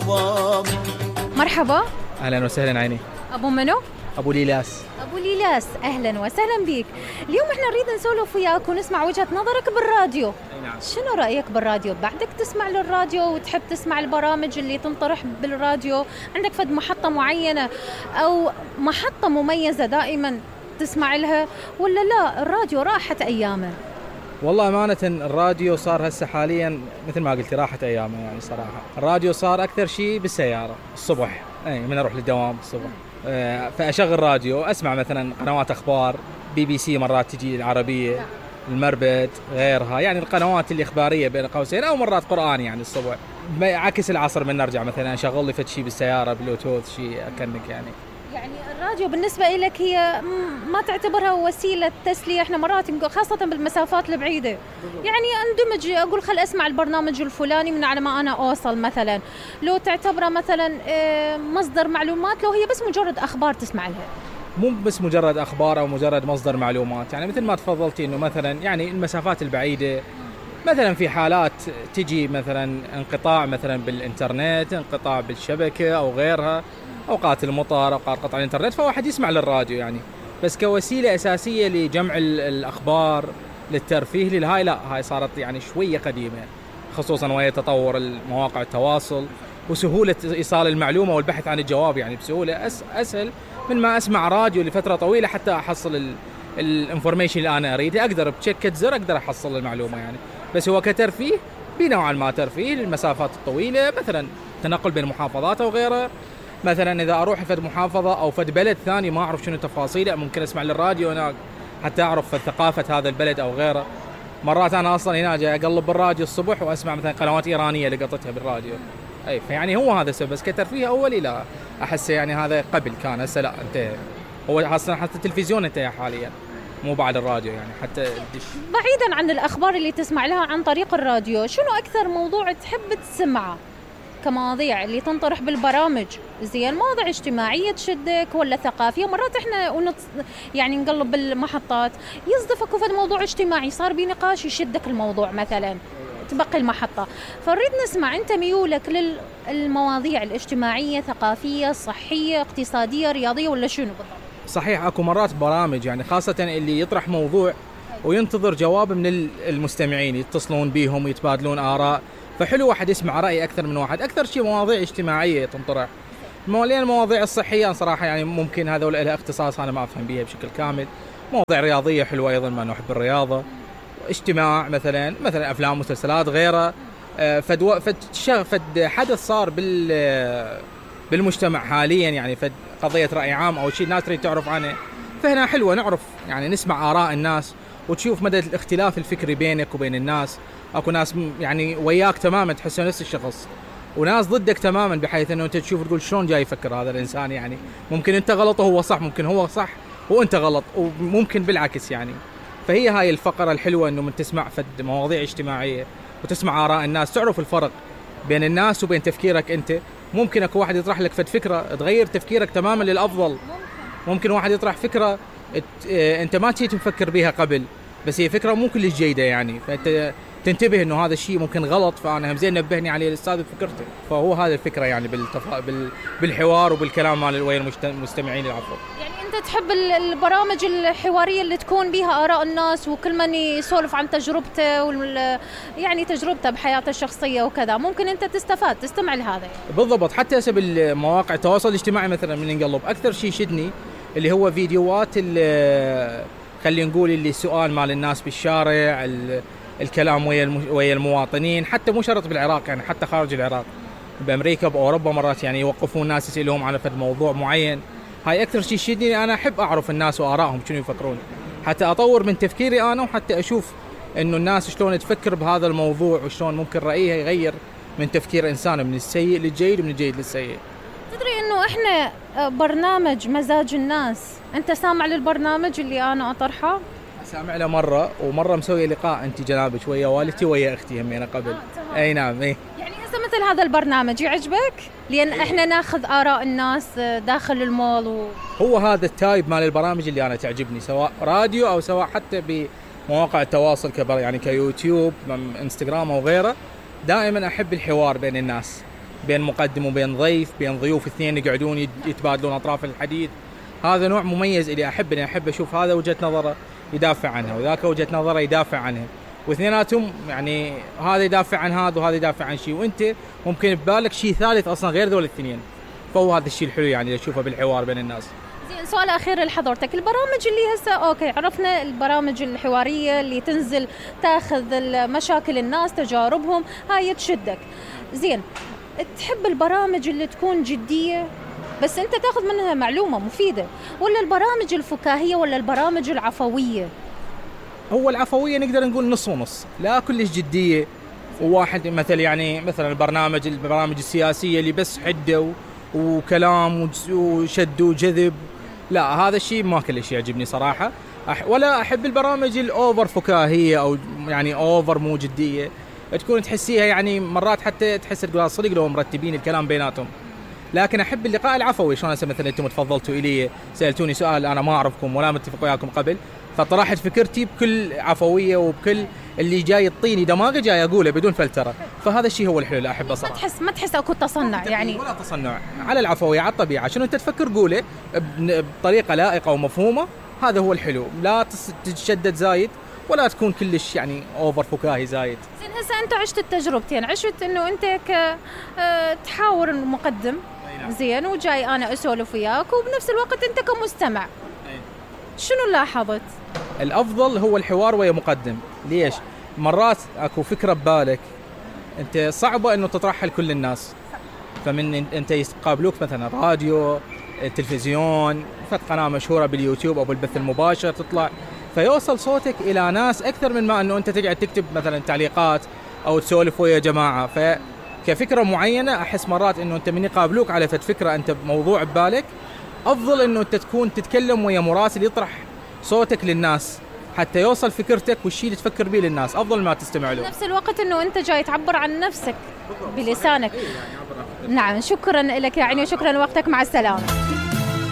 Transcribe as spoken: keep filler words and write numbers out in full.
الظباب. مرحبا. اهلا وسهلا عيني. ابو منو؟ ابو ليلاس. ابو ليلاس اهلا وسهلا بيك. اليوم احنا نريد نسولف وياك ونسمع وجهة نظرك بالراديو. نعم. شنو رأيك بالراديو؟ بعدك تسمع للراديو وتحب تسمع البرامج اللي تنطرح بالراديو؟ عندك فد محطة معينة او محطة مميزة دائما تسمع لها ولا لا الراديو راحت ايامه؟ والله أمانة الراديو صار هسه حاليا مثل ما قلت راحت أيامه يعني صراحة. الراديو صار أكثر شيء بالسيارة الصبح، أي من أروح للدوام الصبح أه فأشغل راديو أسمع مثلا قنوات أخبار، بي بي سي مرات تجي العربية، المربد غيرها، يعني القنوات الإخبارية بين قوسين، أو مرات قرآن يعني الصبح. عكس العصر من نرجع مثلا أشغل لي فد شيء بالسيارة بلوتوث شيء أكنك يعني. يعني الراديو بالنسبة لك هي ما تعتبرها وسيلة تسلية؟ احنا مرات خاصة بالمسافات البعيدة يعني اندمج اقول خل اسمع البرنامج الفلاني من على ما انا اوصل مثلا، لو تعتبرها مثلا مصدر معلومات لو هي بس مجرد اخبار تسمع لها؟ مو بس مجرد اخبار او مجرد مصدر معلومات، يعني مثل ما تفضلتي انه مثلا يعني المسافات البعيدة مثلا في حالات تجي مثلا انقطاع مثلا بالانترنت، انقطاع بالشبكة او غيرها، أوقات المطر، أوقات قطع الإنترنت، فواحد يسمع للراديو يعني. بس كوسيلة أساسية لجمع الأخبار للترفيه للهاي لا، هاي صارت يعني شوية قديمة، خصوصا وهي تطور المواقع التواصل وسهولة إيصال المعلومة والبحث عن الجواب يعني بسهولة أس أسهل من ما أسمع راديو لفترة طويلة حتى أحصل الانفورميشن اللي أنا أريده. أقدر بشكة زر أقدر أحصل المعلومة يعني. بس هو كترفيه بنوعا ما ترفيه للمسافات الطويلة، مثلا تنقل بين محافظات أو غيره. مثلا إذا أروح فد محافظة أو فد بلد ثاني ما أعرف شنو تفاصيله، ممكن أسمع للراديو هناك حتى أعرف ثقافة هذا البلد أو غيره. مرات أنا أصلا هنا جاي أقلب بالراديو الصبح وأسمع مثلا قنوات إيرانية لقطتها بالراديو. أي فيعني هو هذا السبب. بس كترفيه أولي لا أحس يعني هذا قبل كان، هسه لا انتهى. هو أصلا حتى التلفزيون انتهى حاليا، مو بعد الراديو يعني حتى الدش. بعيدا عن الأخبار اللي تسمع لها عن طريق الراديو، شنو أكثر موضوع تحب تسمعه كمواضيع اللي تنطرح بالبرامج؟ زين مواضيع اجتماعية تشدك ولا ثقافية؟ مرات احنا ونط يعني نقلب بالمحطات يصدفك وفد موضوع اجتماعي صار بنقاش يشدك الموضوع مثلا تبقي المحطة، فنريد نسمع انت ميولك للمواضيع الاجتماعية، ثقافية، صحية، اقتصادية، رياضية، ولا شنو بالضبط؟ صحيح اكو مرات برامج يعني خاصة اللي يطرح موضوع وينتظر جواب من المستمعين، يتصلون بيهم ويتبادلون آراء، فحلو واحد يسمع رأي أكثر من واحد. أكثر شيء مواضيع اجتماعية تنطرح. مولين المواضيع الصحية صراحة يعني ممكن هذول لها اختصاص أنا ما أفهم بيها بشكل كامل. مواضيع رياضية حلوة أيضا ما نحب الرياضة. اجتماع مثلا مثلا أفلام مسلسلات غيره. فد فد فد حدث صار بال بالمجتمع حاليا يعني فد قضية رأي عام أو شيء الناس تريد تعرف عنه، فهنا حلوة نعرف يعني نسمع آراء الناس وتشوف مدى الاختلاف الفكري بينك وبين الناس. اكو ناس يعني وياك تماما تحسه نفس الشخص، وناس ضدك تماما بحيث انه انت تشوف تقول شلون جاي يفكر هذا الانسان، يعني ممكن انت غلط وهو صح، ممكن هو صح وانت غلط، وممكن بالعكس يعني. فهي هاي الفقرة الحلوة انه من تسمع فد مواضيع اجتماعية وتسمع آراء الناس، تعرف الفرق بين الناس وبين تفكيرك انت. ممكن اكو واحد يطرح لك فد فكرة تغير تفكيرك تماما للأفضل. ممكن واحد يطرح فكرة انت ما كنت مفكر بيها قبل، بس هي فكرة مو كلش جيدة يعني، فانت تنتبه انه هذا الشيء ممكن غلط، فانا هم زين نبهني عليه الاستاذ بفكرته. فهو هذا الفكره يعني بالتفا... بال... بالحوار وبالكلام مع ويا المستمعين العفو. يعني انت تحب البرامج الحواريه اللي تكون بها اراء الناس وكل من يسولف عن تجربته وال... يعني تجربته بحياته الشخصيه وكذا، ممكن انت تستفاد تستمع لهذا يعني. بالضبط. حتى هسه بالمواقع التواصل الاجتماعي مثلا من نقلب اكثر شيء شدني اللي هو فيديوهات اللي خلينا نقول اللي سؤال مال الناس بالشارع، الكلام ويا ويا المواطنين، حتى مو شرط بالعراق يعني حتى خارج العراق، بأمريكا بأوروبا مرات يعني يوقفون الناس يسألهم على فد موضوع معين. هاي أكثر شيء شدني، أنا أحب أعرف الناس وآرائهم شنو يفكرون حتى أطور من تفكيري أنا، وحتى أشوف إنه الناس شلون تفكر بهذا الموضوع وشلون ممكن رأيها يغير من تفكير إنسان من السيء للجيد ومن الجيد للسيء. تدري إنه إحنا برنامج مزاج الناس، أنت سامع للبرنامج اللي أنا أطرحه؟ سامع له مرة، ومرة مسوي لقاء أنت جنابك ويا والدتي ويا أختي همينة قبل. آه أي نعم. إيه يعني هسه مثل هذا البرنامج يعجبك؟ لأن إيه؟ إحنا ناخذ آراء الناس داخل المول و... هو هذا التايب مال البرامج اللي أنا تعجبني، سواء راديو أو سواء حتى بمواقع التواصل كبر يعني كيوتيوب انستغرام أو غيره. دائما أحب الحوار بين الناس، بين مقدم وبين ضيف، بين ضيوف اثنين يقعدون يتبادلون اطراف الحديث. هذا نوع مميز اللي احب اني احب اشوف هذا وجهة نظره يدافع عنها وذاك وجهة نظره يدافع عنها، واثنيناتهم يعني هذا يدافع عن هذا وهذا يدافع عن شيء، وانت ممكن ببالك شيء ثالث اصلا غير ذول الاثنين. فهو هذا الشيء الحلو يعني اشوفه بالحوار بين الناس. زين، سؤال اخير لحضرتك، البرامج اللي هسه اوكي عرفنا البرامج الحواريه اللي تنزل تاخذ مشاكل الناس تجاربهم هاي تشدك، زين تحب البرامج اللي تكون جديه بس انت تاخذ منها معلومه مفيده، ولا البرامج الفكاهيه ولا البرامج العفويه؟ هو العفويه نقدر نقول نص ونص، لا كلش جديه. وواحد مثل يعني مثلا البرنامج البرامج السياسيه اللي بس حده وكلام وشد وجذب، لا هذا الشيء ما كلش يعجبني صراحه. أح ولا احب البرامج الاوفر فكاهيه او يعني اوفر مو جديه، تكون تحسيها يعني مرات حتى تحس تقول صدق لو مرتبين الكلام بيناتهم. لكن احب اللقاء العفوي، شلون هسه مثلا انتم تفضلتوا الي سالتوني سؤال انا ما اعرفكم ولا متفق وياكم قبل، فطرحت فكرتي بكل عفويه وبكل اللي جاي يعطيني دماغي جاي اقوله بدون فلتره. فهذا الشيء هو الحلو اللي احبه صراحه. ما تحس ما تحس اكو تصنع يعني؟ ولا تصنع، على العفويه على الطبيعه، شنو انت تفكر قوله بطريقه لائقه ومفهومه، هذا هو الحلو. لا تتشدد زايد ولا تكون كلش يعني اوفر فكاهي زايد. زين هسه انت عشت التجربتين، عشت انه انت ك تحاور المقدم زين وجاي انا اسولف وياك، وبنفس الوقت انت كمستمع شنو لاحظت؟ الافضل هو الحوار ويا مقدم. ليش؟ مرات اكو فكره ببالك انت صعبه انه تطرحها لكل الناس، فمن انت يقابلوك مثلا راديو، تلفزيون، فت قناه مشهوره باليوتيوب او بالبث المباشر تطلع، فيوصل صوتك الى ناس اكثر من ما انه انت تقعد تكتب مثلا تعليقات او تسولف ويا جماعه. فكفكره معينه احس مرات انه انت من يقابلوك على فت فكره انت بموضوع ببالك، افضل انه انت تكون تتكلم ويا مراسل يطرح صوتك للناس حتى يوصل فكرتك والشيء اللي تفكر به للناس، افضل ما تستمع له. نفس الوقت انه انت جاي تعبر عن نفسك بلسانك. نعم، شكرا لك يعني وشكرا لوقتك، مع السلامه.